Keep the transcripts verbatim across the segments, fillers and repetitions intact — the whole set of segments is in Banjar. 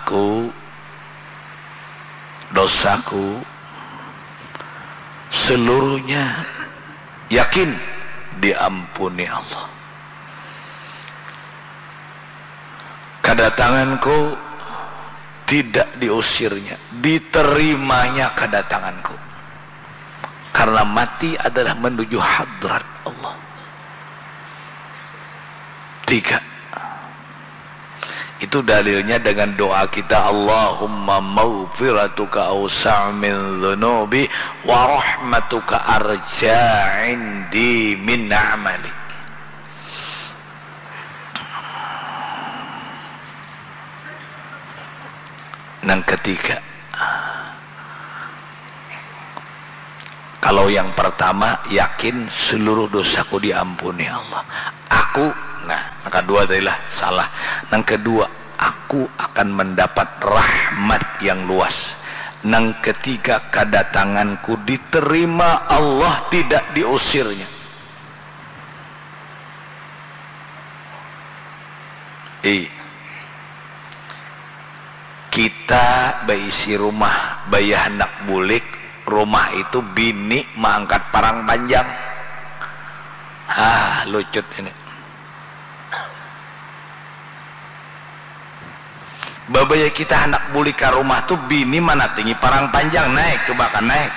Ku, dosaku seluruhnya yakin diampuni Allah. Kadatanganku tidak diusirnya, diterimanya kadatanganku. Karena mati adalah menuju hadrat Allah. Tiga. Itu dalilnya dengan doa kita, "Allahumma maghfiratuka awsa'u min dzunubi wa rahmatuka arja indi min amali." Nang ketiga, kalau yang pertama, yakin seluruh dosaku diampuni Allah. Aku, nah, nang kedua tadi lah, salah. Nang kedua, aku akan mendapat rahmat yang luas. Nang ketiga, kadatanganku diterima Allah, tidak diusirnya. I. Kita baisi rumah, baya handak bulik, rumah itu bini maangkat parang panjang. Ah, lucut ini. Babaya kita handak bulik ka rumah tu, bini manatingi parang panjang, "Naik, coba kan naik."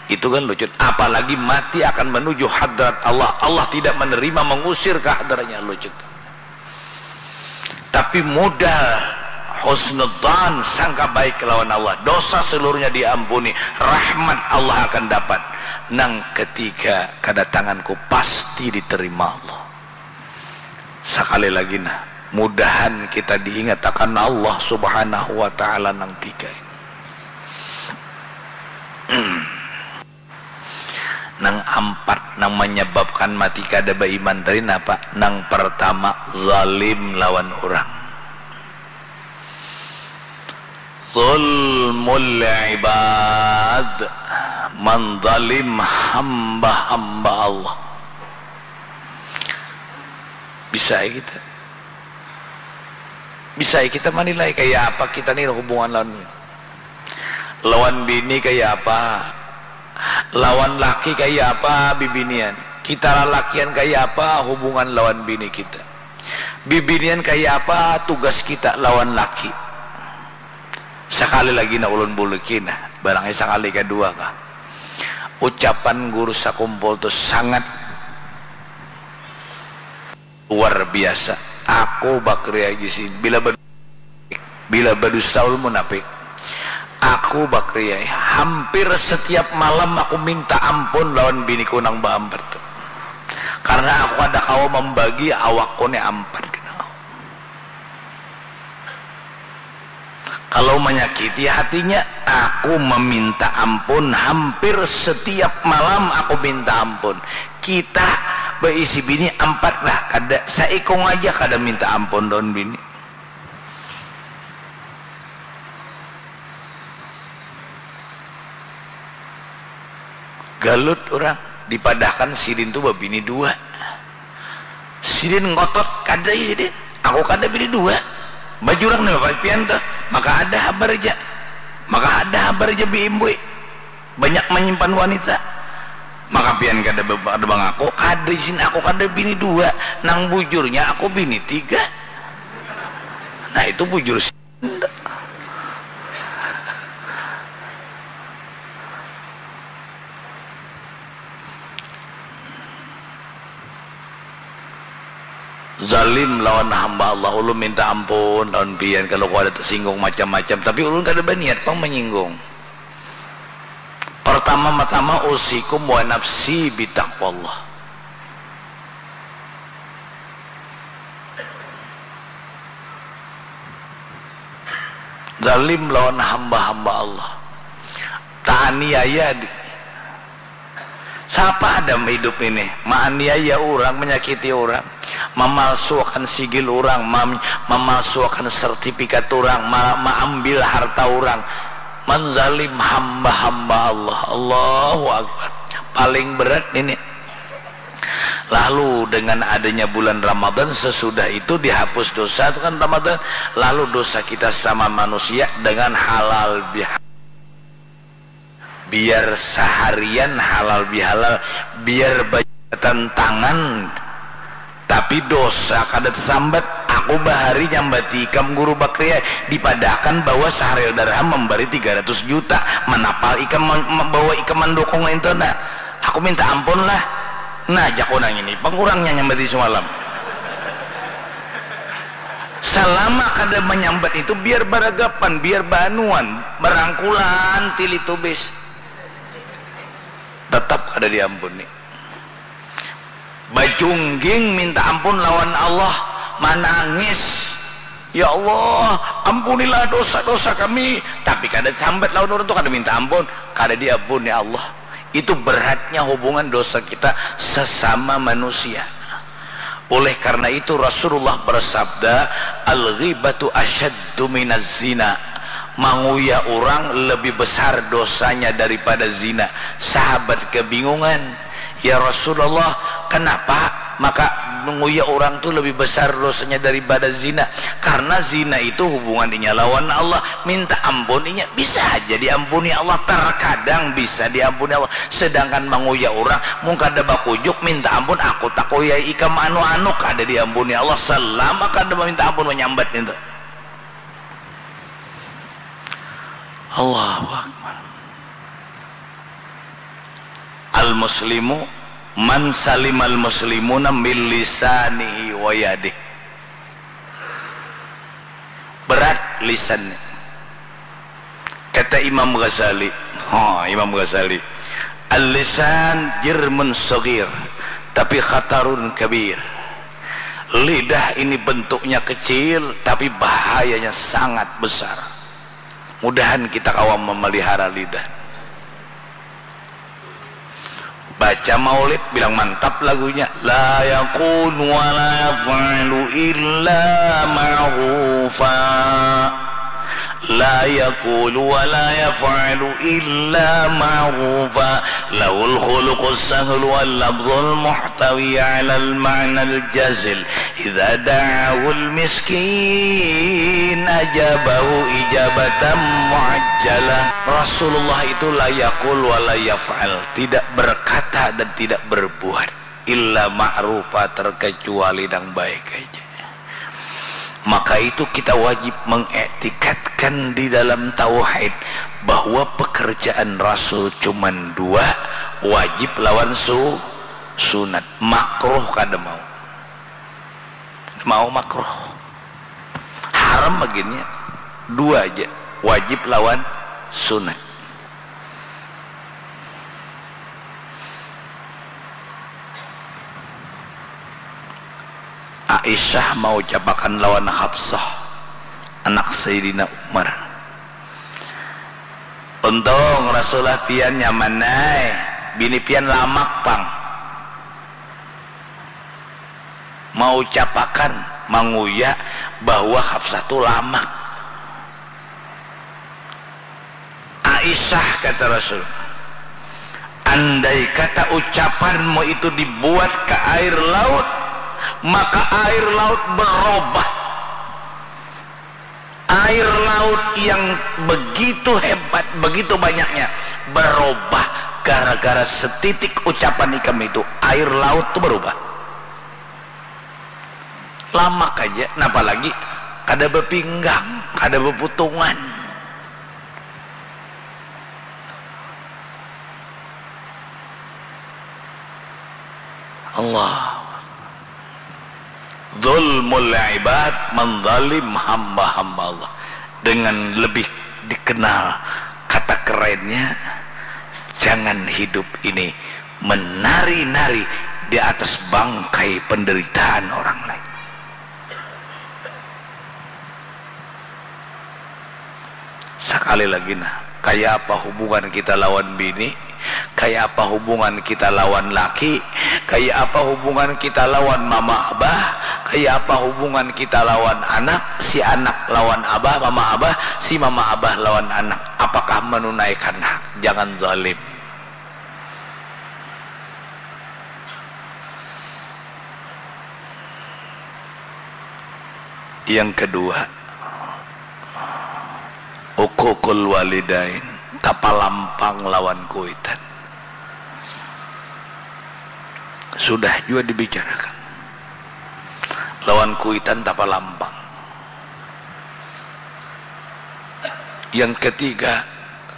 Itu kan lucut. Apalagi mati akan menuju hadrat Allah. Allah tidak menerima, mengusir ke hadratnya, lucut. Tapi modal husnudzan, sangka baik lawan Allah, dosa seluruhnya diampuni, rahmat Allah akan dapat. Nang ketiga, kadatanganku pasti diterima Allah. Sakali lagi nah, mudahan kita diingatakan Allah Subhanahu wa Ta'ala nang tiga ini. Nang ampat nang manyababkan mati kada baiman tadi napa? Nang partama, zalim lawan urang. Zulmul ibad, manzalim hamba-hamba Allah. Bisa ai kita, bisa ai kita manilai kaya apa kita ni hubungan lawan, lawan bini kaya apa, lawan laki kaya apa bibinian, kita lalakian kaya apa hubungan lawan bini kita, bibinian kaya apa tugas kita lawan laki. Sakali lagi nah ulun buliki nah, barangnya sakali kadua kah. Ucapan guru sakumpul tu sangat luar biasa. Aku bakriai di sini. Bila bad-, bila badusta ulun munafik. Aku bakriai. Hampir setiap malam aku minta ampun lawan biniku nang baampat tu. Karena aku kada kawa mambagi awakku ni ampat kena. Kalau manyakiti hatinya, aku maminta ampun, hampir setiap malam aku minta ampun. Kita baisi bini ampat lah, kada, saikung aja kada minta ampun lawan bini. Galut urang, dipadahkan sidin tu babini dua. Sidin ngotot, kada sidin. Aku kada bini dua. Bajurang ni bapak pian tuh. Maka ada habar ja. Maka ada habar ja biimbui. Banyak manyimpan wanita. Maka pian kada be-, kada bangaku, kada isin aku kada bini dua. Nang bujurnya aku bini tiga. Nah, itu bujur si-, Zalim lawan hamba Allah, ulun minta ampun lawan pian kalau ku ada tersinggung macam-macam, tapi ulun kada baniat pang menyinggung. Pertama-tama, usikum wa nafsi bitaqwallah. Zalim lawan hamba-hamba Allah. Taaniaya di-, siapa ada hidup ini maaniaya orang, menyakiti orang, memalsuakan sigil orang, mam-, memalsuakan sertifikat orang, ma-, maambil harta orang, menzalim hamba-hamba Allah. Allahu Akbar. Paling berat ini. Lalu dengan adanya bulan Ramadan, sesudah itu dihapus dosa itu kan Ramadan, lalu dosa kita sama manusia dengan halal bihalal. Biar saharian halal bihalal, biar bajabatan tangan, tapi dosa kada tasambat. Aku bahari nyambati ikam Guru Bakri, dipadahakan bahwa Syahril Darham mambari tiga ratus juta, manapal ikam ma-, ma-, bahwa ikam mandukung itu nah. Aku minta ampun lah. Nah, jakku nang ini, pang kurangnya nyambati semalam. Salama kada manyambat itu biar baragapan, biar baanuan, barangkulan tili tubis. Tetap kada diampuni. Bajungging minta ampun lawan Allah, manangis. Ya Allah, ampunilah dosa-dosa kami. Tapi kada sambat lawan urang tu, kada minta ampun, kada diampuni Allah. Itu beratnya hubungan dosa kita sesama manusia. Oleh karena itu Rasulullah bersabda, "Al-ghibatu asyaddu minaz zina." Manguyah orang lebih besar dosanya daripada zina. Sahabat kebingungan, "Ya Rasulullah, kenapa maka manguyah orang tu lebih besar dosanya daripada zina?" Karena zina itu hubungan inya lawan Allah, minta ampun inya bisa haja diampuni Allah, terkadang bisa diampuni Allah. Sedangkan manguyah urang, mun kada bakujuk minta ampun, "Aku takuyai ikam anu-anu," kada diampuni Allah selama kada maminta ampun, manyambat nintu. Allahu Akbar. Al-muslimu man salimal muslimuna min lisanihi wa yadih. Berat lisan ni. Kata Imam Ghazali, ha, Imam Ghazali, "Al-lisan jirmun saghir, tapi khatarun kabir." Lidah ini bentuknya kecil, tapi bahayanya sangat besar. Mudahan kita kawa memelihara lidah. Baca maulid, bilang mantap lagunya. "La yaqulu wa la yaf'alu illa ma'rufa." La yaqulu wa la yaf'alu illa ma'rufa. Lahul khuluqus sahlu wal lafzul muhtawi alal ma'nal jazil. Idza da'ahul miskin ajabahu ijabatan mu'ajjalah. Rasulullah itu la yaqul wa la yaf'al, tidak berkata dan tidak berbuat illa ma'rufa, terkecuali nang baik aja. Maka itu kita wajib mengiktikadkan di dalam tauhid bahwa pekerjaan Rasul cuman dua, wajib lawan su-, sunat, makruh kada mau. Mau makruh. Haram bagiannya dua aja, wajib lawan sunat. Aisyah maucapakan lawan Hafsah, anak Sayyidina Umar, "Untung Rasulullah pian nyaman ai, bini pian lamak pang." Maucapakan, manguya bahwa Hafsah tu lamak. "Aisyah," kata Rasul, "andai kata ucapanmu itu dibuat ke air laut, maka air laut berubah." Air laut yang begitu hebat, begitu banyaknya, berubah gara-gara setitik ucapan ikam itu, air laut tu berubah. Lamak aja, napa lagi kada bepinggang, kada beputungan. Allah. Zulmul ibad, menzalim hamba-hamba Allah. Dengan lebih dikenal kata kerennya, jangan hidup ini menari-nari di atas bangkai penderitaan orang lain. Sakali lagi nah, kaya apa hubungan kita lawan bini, kaya apa hubungan kita lawan laki, kaya apa hubungan kita lawan mama abah, kaya apa hubungan kita lawan anak, si anak lawan abah, mama abah, si mama abah lawan anak. Apakah menunaikan hak? Jangan zalim. Yang kedua, uququl walidain, tapalampang lawan kuitan. Sudah jua dibicarakan. Lawan kuitan tapalampang. Yang ketiga,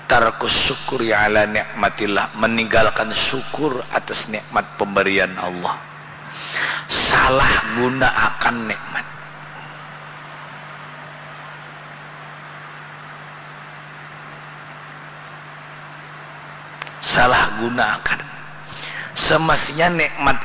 tarkus syukuri ala nikmatillah, meninggalkan syukur atas nikmat pemberian Allah. Salah gunaakan nikmat. Salah gunaakan. Semestinya nikmat